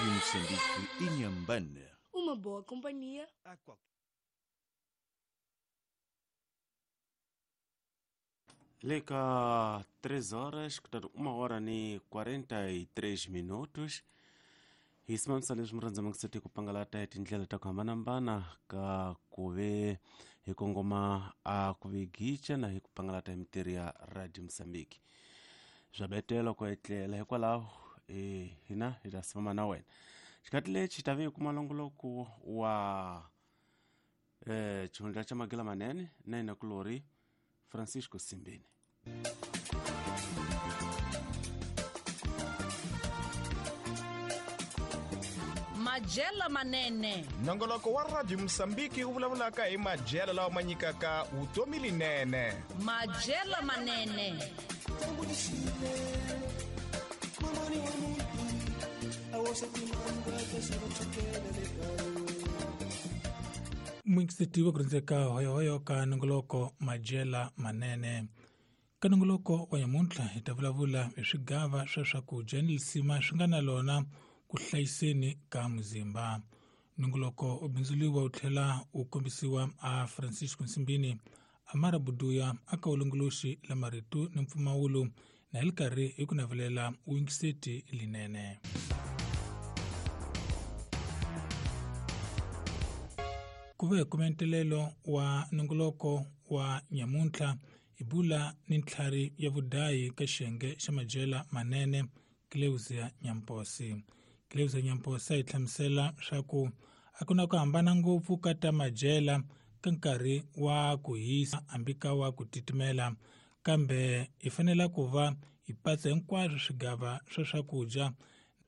Rádio Moçambique, Inhambane. Uma boa companhia. A qualquer. Leka 3 horas, portanto, 1 hora ni 43 minutos. Hi simamisa leswi murhandza mangiseti ku pangalata hi tindlela ta ku hambanahambana ka ku ve hi kongoma a ku ve gicha na hi ku pangalata hi mintirho ya Radio Mozambique. Swa betela ku etlela hikwalaho hina hi ta simama na wena. Xikati lexi ta ve hi kuma longoloko wa xihundla xa Magila Manene na yena kulori Francisco Simbeni. Majela Manene. Nongoloko wa Radio Mozambique wu vulavulaka hi madyelo lawa ma nyikaka vutomi linene. Majela Manene. Mwingisetiwa ku rindzeka hoyohoyo ka nongoloko Majela Manene. Ka nongoloko wa nyamuntlha hi ta vulavula hi swigava swa swakudya ni lisima swi nga na lona ku hlayiseni ka muzimba. Nongoloko u bindzuliwa wu tlhela wu kombisiwa a Francisco Nsimbini, Amara Buduya aka ulongoloxi la marito ni mpfumawulo na hi li karhi hi ku navelela vuyingiseti linene. Ku ve hi kume wa nongoloko wa nyamuntlha hi bula ni ntlhari ya vudayi ka xiyenge xa Majela Manene, Cleusia Nyamposi. Cleusia Nyamposi hi hlamusela swa ku a ku na ku hambana ngopfu ka ta madyela ka nkarhi wa ku hisa hambi ka wa ku titimela, kambe hi fanele ku va hi patsa hinkwaswo swigava swa swakudya.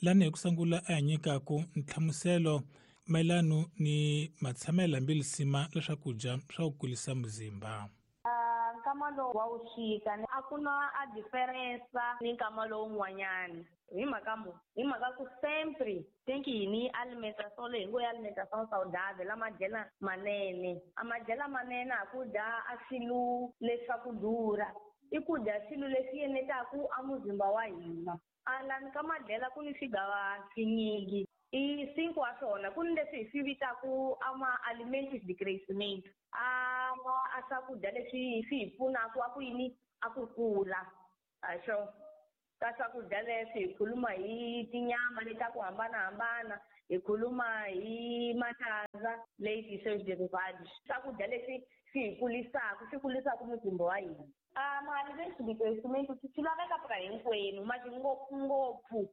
Lani hi ku sungula a hi nyikaku nhlamuselo mayelana ni matshamelo hambi lisima la swakudya swa ku kulisa muzimba. Nkama lowu wa wuxika a ku na a diferensa ni nkama lowun'wanyana hi mhaka mo hi mhaka ku sempre tem que ni alimentação leyi ngo ya alimentação saudável a madyela manene a madyela manene a ku dya a swilo leswaku durha i ku dya swilo leswi yenetaku a muzimba wa hina. Alani ka madyela ku ni swigava swinyingi i cinco wa swona ku ni leswi hi swi vitaku ama alimentos de crescimento a swakudya leswi swi hi pfunaka a ku yini a ku kula a swo ka swakudya leswi hi khuluma hi tinyama leti ta ku hambanahambana hi khuluma hi matandza leyi seus derivados swakudya leswi swi hi kulisaka swi kulisaka muzimba wa hina. Ma-alimentos de crescimento swi laveka pra hinkwenu mati ngopfungopfu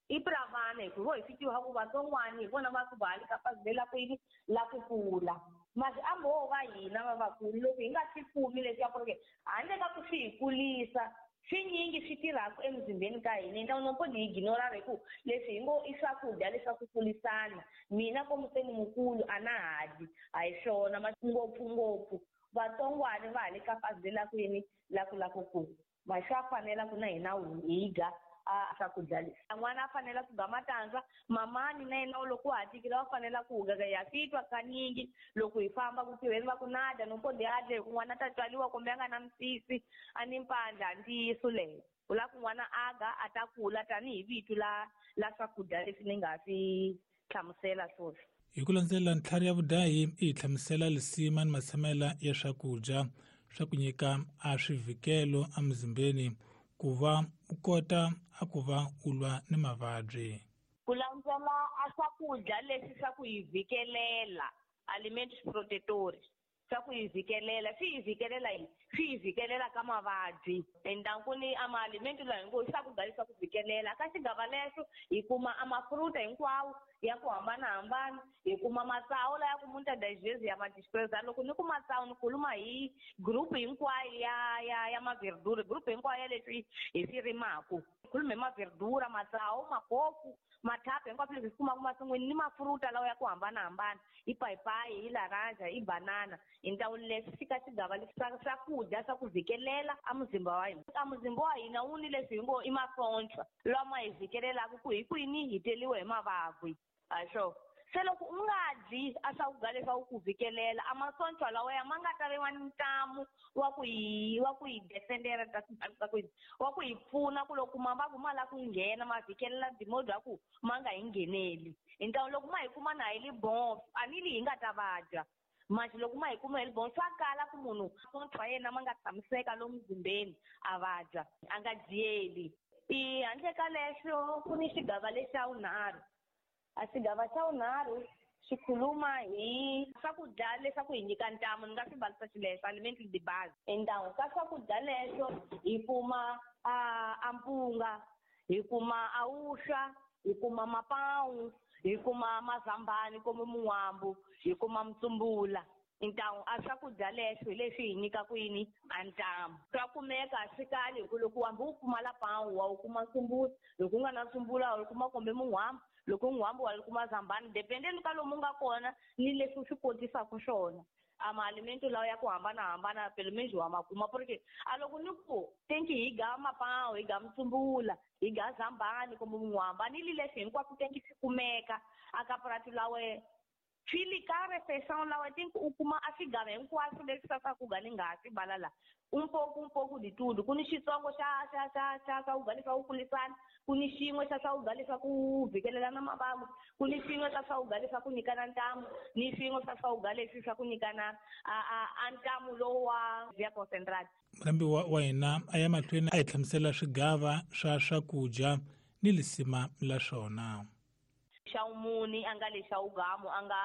i pra vana hikuva hi swi tiva ku vatsongwana hi vona va ku va le ka pasi la ku yini la ku kula masi a mo va hina va vakulu loko hi nga swi kumi leswiya ku ri handle ka ku swi hi kulisa swinyingi swi tirhaka emuzimbeni ka hina então não pode ignorar hi ku leswi hi ngo i swakudya leswaku kulisana mina komu se ni mukulu a na ha dyi a hi swona ngopfungopfu vatsongwana va ha le ka pasi la ku yini la ku la ku kula ma swa fanela ku na hina hi dya a swakudya leswi. N'wana a fanela ku ga matandza mamani na yena loko wa ha tikile wa fanela ku ga ya swi twa kanyingi loko hi famba ku tirheni va ku na dya no pode a dya hi ku n'wana ta tswaliwa kumbe a nga na misisi a ni mpandla ntiyiso leyo u lava ku n'wana a ga a ta kula tanihi vito la la swakudya leswi ni nga swi hlamusela swoswi. Hi ku landzela ntlhari ya vudayi i hi hlamusela lisima ni matshamela ya swakudya swa ku nyika a swivikelo emuzimbeni ku va u kota a ku va u lwa ni mavabyi. Ku landzela a swakudya leswi swa ku hi vikelela alimentos protetores swa ku hi vikelela swi hi vikelela yini swi hi vikelela ka mavabyi endanku ni a maalimento lawa hingo swakudya leswa ku vikelela ka xigava lexo hi kuma a mafruta hinkwawo ya ku hambanahambana hi kuma matsawu laya ku muitas das vezes ya madispreza loko ni ku matsawu ni khuluma hi group hinkwayo ya ya ya maverdura group hinkwayo ya leswi hi swi rimaku khuluma hi maverdura matsawu makofu mathapu hinkwaswo leswi hi swi kumaka masin'wini ni mafruta lawa ya ku hambanahambana i payipayi i laranja i banana hi ntawuni leswi swi ka xigava leswi swa swakudya swa ku vikelela a muzimba wa hina a muzimba wa hina wu ni leswi hi ngo i masontshwa lama hi vhikelelaka ku hi kwini hi teliwe hi mavabyi a swo Se loko u nga dyi a swakudya leswaku ku vikelela a masocha lawa ya ma nga ta viwa ntamu wa ku hi defendera wa ku hi pfuna ku loko mavabyi ma lava ku nghena ma vikelela dimodi ya ku ma nga hi ngheneli. Hi ntamu loko ma hi kuma na hi li bon a ni li hi nga ta vabya. Manje loko ma hi kuma hi li bon swa kala ku munhu masocha ya yena ma nga tshamiseka lomu muzimbeni a vabya a nga dyeli. I handle ka leswo ku ni xigava lexa vunharhu. A xigava xa vunharhu xi khuluma hi swakudya leswaku hi nyika ntamu, ni nga swi valisa xileswo aliment de base. Endawu ka swakudya leswo hi kuma a mpunga, hi kuma a wuswa, hi kuma mapawu, hi kuma mazambani kumbe muwambu, hi kuma mutsumbula. Ntamu a swakudya leswo hi leswi hi nyikaka yini a ntamu. Swa kumeka swi kali hi ku loko hambi u pfumala pawu wa wu kuma ntsumbula, loko u nga na ntsumbula wa wu kuma kumbe muhwambu, loko muhwambu wa wu kuma zambani, dependeni ka lomu nga kona ni leswi u swi kotisaka swona. A maalimento lawa ya ku hambanahambana pelo menos wa ma kuma porque a loko ni ku tenki hi ga mapawu, hi ga mutsumbula, hi ga zambani kumbe muhwambu, a ni li leswi hinkwaswo tenki swi kumeka a ka purasi la wena. Swi li ka refeição lawa tenki u kuma a swigava hinkwaswo leswi swa swakudya ni nga ha swi vala la. Un pouco de tudo. Ku ni xitsongo xa xa xa xa swakudya leswa ku kulisana, ku ni xin'we xa swakudya leswa ku vhikelelana mavabyi, ku ni xin'we xa swakudya leswa ku nyikana ntamu, ni xin'we xa swakudya leswi swa ku nyikana a ntamu lowu wa via concentrate. Murhambi wa hina a ya mahlweni a hi hlamusela swigava swa swakudya ni lisima la swona. Xa vumune a nga le xa wugamu a nga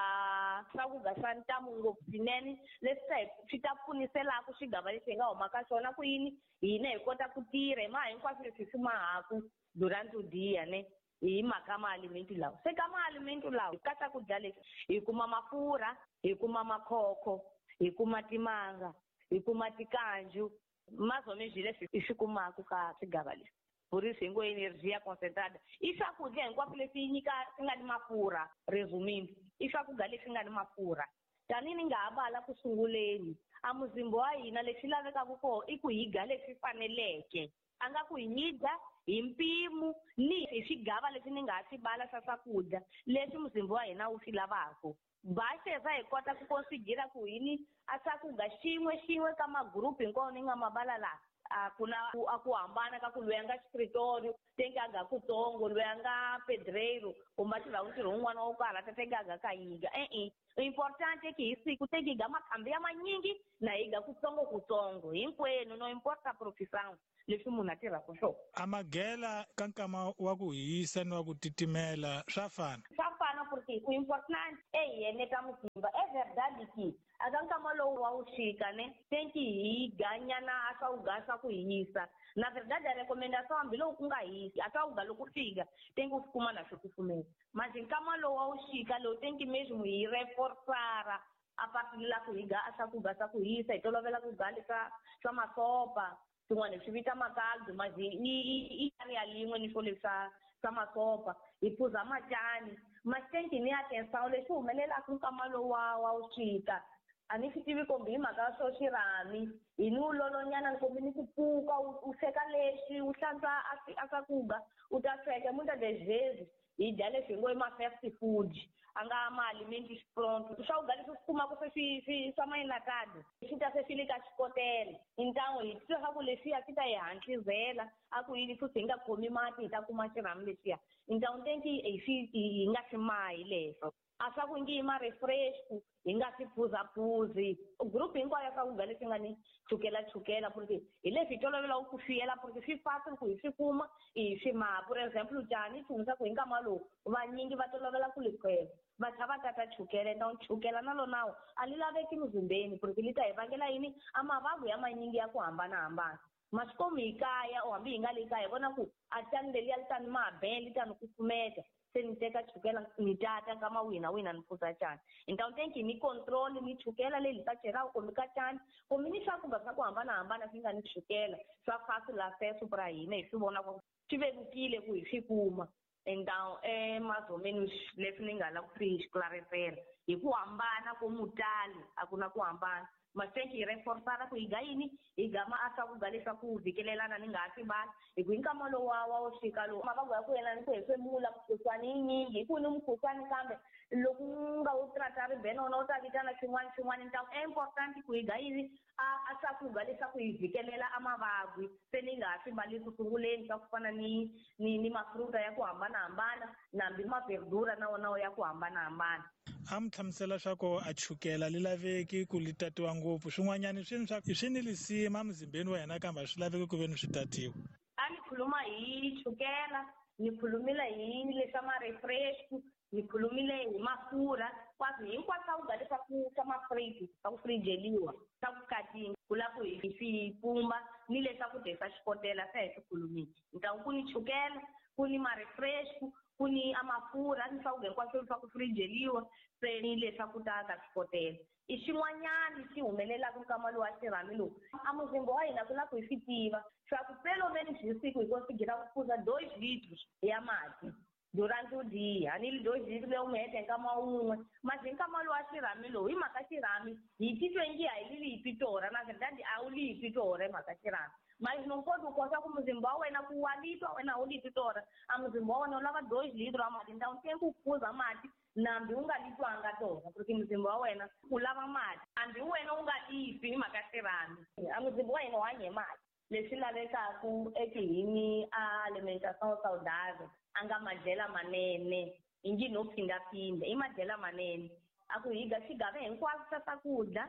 swakudya swa ntamu ngopfu swinene leswi swi ta pfuniselaka xigava lexi hi nga huma ka xona ku yini hina hi kota ku tirha hi maha hinkwaswo leswi hi swi mahaku durante o dia ne hi mhaka maalimento lawa. Se ka maalimento lawa ka swakudya leswi hi kuma mafurha, hi kuma makhokho, hi kuma timanga, hi kuma tikanju, mazomezwi leswi hi swi kumaka ka swigava leswi. Por isso hi ngo energia concentrada. I swakudya hinkwaswo leswi nyika swi nga ni mafurha, resumindo, i swakudya leswi nga ni mafurha. Tanihi ni nga ha vala ku sunguleni, a muzimba wa hina lexi lavekaka koho i ku hi dya leswi faneleke. A nga ku hi dya hi mpimo ni hi swigava leswi ni nga ha swi vala swa swakudya leswi muzimba wa hina wu swi lavaka. Basheza hi kota ku konsigira ku yini a swakudya xin'we xin'we ka magrupu hinkwawo ni nga ma vala laha. A ku na a ku hambana ka ku loyi a nga xikritorio tenki a ga kutsongo, loyi a nga pedreiro kumbe a tirhaka ntirho wun'wana wo karhata tenki a ga ka yiga. E-e, importante ki hi siku tenki hi ga makhambi ya manyingi na hi ga kutsongo kutsongo hinkwenu, no importa profissão leswi munhu a tirhaka swona. A magela ka nkama wa ku hisa ni wa ku titimela swa fana? Swa fana porque ku important e hi eneta muzimba. É verdade que a ka nkama lowu wa wuxika ne tenki hi ganyana a swakudya swa ku hisa. Na verdade a recomendação hambiloko ku nga hisi a swakudya loko fika tenki u swi kuma na swi kufumela. Mas nkama lowu wa wuxika lowu tenki mesmo hi reforçar a partir la ku hi ga a swakudya swa ku hisa, hi tolovela ku ga leswa swa masopa swin'wana hi swi vita makaldu, mas i ya lin'we ni swo leswa swa masopa, hi phuza macani. Mas tenki ni atenção lexi humelelaka nkama lowu wa wuxika a ni swi tivi kumbe hi mhaka swo xirhami hi ni wulolonyana kumbe ni ku pfuka u sweka lexi u hlantswa a swakudya u ta sweka muitas das vezes hi dya leswi hi ngo i ma-fast food a nga ma-alimentos pronto. Swakudya leswi swi kumaka se swi swa ma-enlatado swi ta se swi le ka xikotela. Então hi twa swa ku leswiya swi ta hi hantlisela a ku yini futhi hi nga khomi mati hi ta kuma xirhami lexiya. Então tenki hi swi hi nga swi mahi leswo. A swa ku ngi i ma-refresco hi nga swi phuzaphuzi. Group hinkwayo ya swakudya leswi nga ni chukela chukela porque hi leswi hi tolovelaka ku swi yela porque swi fácil ku hi swi kuma hi swi maha. Por exemplo, cani nchumu swa ku hi nkama lowu vanyingi va tolovela ku likhwela va tlha va tata chukele. Então chukela na lonawo a li laveki muzimbeni porque li ta hi vangela yini a mavabyi ya manyingi ya ku hambanahambana. Masikomu hi kaya o hambi hi nga le kaya hi vona ku a cani leliya li ta ni maha li ta ni kufumeta se ni teka chukela ni tata nkama wihi na wihi na ni phuza cani. Então tenki ni control ni chukela leyi li ta chelaka kumbe ka cani kumbe ni swakudya swa ku hambanahambana swi nga ni chukela swa fácil acesso pra hina hi swi vona ku swi vevukile ku hi swi kuma. Então é mais ou menos leswi ni nga lava ku swi esclarecer hi ku hambana ko mutali a ku na ku hambana. Mas tenki hi reforçar ku hi ga yini hi ga ma a swakudya leswaku vhikelelana ni nga ha swi vali hi ku hi nkama lowu wa wuxika lowu mavabyi ya ku yelana ni ku hefemula mukhuhlwani yi nyingi hi ku ni mukhuhlwani kambe Loko u nga wu tratari bene wona wu ta vitana xin'wana xin'wana. Então é importante ku hi ga yini a swakudya leswaku hi vhikelela a mavabyi, se ni nga ha swi mbali ku sunguleni swa ku fana ni mafruta ya ku hambanahambana nambi maverdura na wona ya ku hambanahambana. A mi hlamusela swa ku a chukela li laveki ku li tatiwa ngopfu, swin'wanyani swi swa swi ni lisima muzimbeni wa hina kambe a swi laveki ku ve ni swi tatiwa. A ni khuluma hi chukela, ni khulumile hi leswa ma-refresh, ni khulumile hi mafurha, kwaswi hinkwaswo swakudya leswaku swa mafriji swa ku frijeliwa swa ku katinga ku lava ku hi swi pumba ni leswakudya swa xikotela se hi swi khulumile. Ntawu ku ni chukela, ku ni ma-refresh, ku ni a mafurha ni swakudya hinkwaswo swa ku frijeliwa se ni leswaku ta ka xikotela. I xin'wanyana xi humelelaka nkama lowu wa xirhami lowu a muzimba wa hina ku lava ku hi swi tiva swa ku pelo menos hi siku hi konsigira ku phuza 2 litros ya mati durante o dia. A ni 2 litros leyi mi hete nkama wun'we, mas hi nkama lowu wa xirhami lowu hi mhaka xirhami hi titwe ngi a hi li lipi torha, na verdade a wu lipi torha hi mhaka xirhami. Mas não pode kosa ku muzimba wa wena ku wa litwa wena a wu lipi torha, a muzimba wa wena wu lava 2 litros ya mati, então tem ku phuza mati nambi u nga litwanga torha porque muzimba wa wena u lava mati, hambi wena u nga lipi hi mhaka xirhami, a muzimba wa hina wu hanya hi mati. Leswi lavekaku ekihini a alimentação saudável a nga madyela manene hi ngi no phindaphinda i madyela manene a ku hi ga xigava hinkwaswo swa swakudya,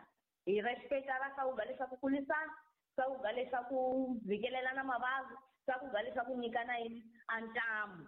hi respecta ra swakudya leswaku kulisana, swakudya leswaku vhikelela na mavabyi, swakudya leswaku nyikana yini a ntamu.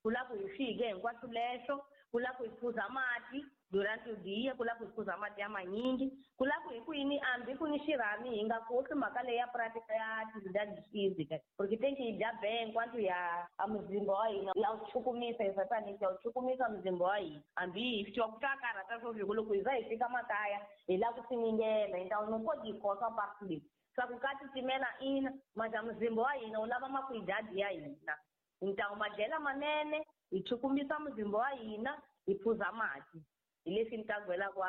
Ku lava ku hi swike hinkwaswo leswo, ku lava ku hi phuza mati durante o dia, ku lava ku hi phuza mati ya manyingi, ku lava ku hi ku yini hambi ku ni xirhami hi nga khohlwi mhaka leyi ya prática ya atividade física, porque tem que hi dya bem enquanto ya a muzimba wa hina ya wu chukumisa, exatamente ya wu chukumisa muzimba wa hina. Hambi hi twa ku ta karhata swo fika loko hi za hi fika makaya hi lava ku siningela, então não pode hi khohlwa parte leyi swa ku ka titimela ina, mas a muzimba wa hina wu lava makwidadi ya hina. Então madyela manene hi chukumisa muzimba wa hina, hi phuza mati, hi leswi ni ta gwelaka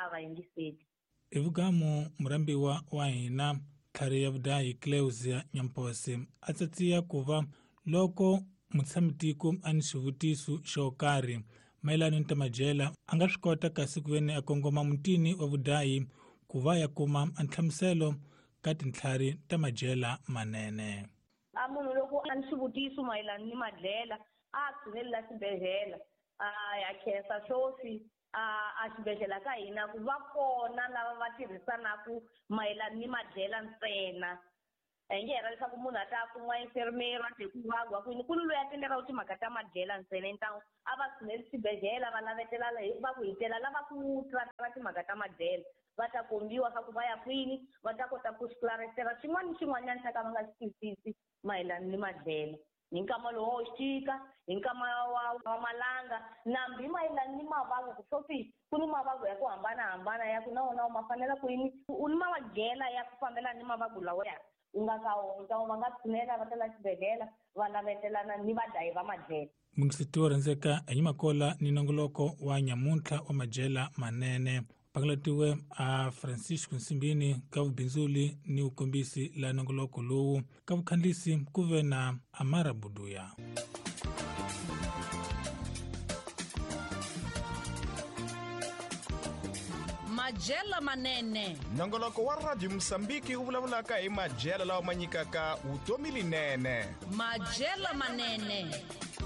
a va yingiseli. I vugamu murhambiwa wa hina tlhari ya vudahi Cleusia Nyampose a tsatsiya ku va loko mutshamitiko a ni xivutiso xo karhi mayelana ni ta madyela a nga swi kota kasi ku veni a kongoma mutini wa vudahi ku va ya kuma a nhlamuselo ka tintlhari ta madyela manene. A munhu loko a ni xivutiso mayelana ni madyela a tshunelela xibedhlele, a ya khensa swoswi a xibedhlele ka hina ku va kona lava va tirhisanaku mayelana ni madyela ntsena. A hi nge hera leswaku munhu a ta kuma enfermeiro a te ku vabya kwini, ku ni loyi a tendelaku timhaka ta madyela ntsena. Então a va tshuneli xibedhlele va lavetela va ku hitela lava ku trata timhaka ta madyela, va ta kombiwa swa ku va ya kwini, va ta kota ku swi xin'wana ni xin'wanyana xa ka va nga xi twisisi mayelana ni madyela. Hi nkama lowu wa xika, hi nkama wa malanga, nambi mayelana ni mavabyi ku swoswi ku ni mavabyi ya ku hambanahambana ya ku na wona ma fanela ku yini, u ni madyela ya ku fambelana ni mavabyi lawa ya u nga ka wona. Então va nga tshunela va tela xibedhlele va lavetelana ni vadlayi va madyela. Mungiseti wo rhandzeka hi Makola ni nongoloko wa nyamuntlha wa madyela manene pakalatiwe a Francisco Nsimbini ka vubindzuli ni vukombisi la nongoloko lowu ka vukhandlisi ku ve na Amara Buduya. Madyela manene. Nongoloko wa Radio Mosambiki wu vulavulaka hi madyela lawa ma nyikaka vutomi linene. Madyela manene.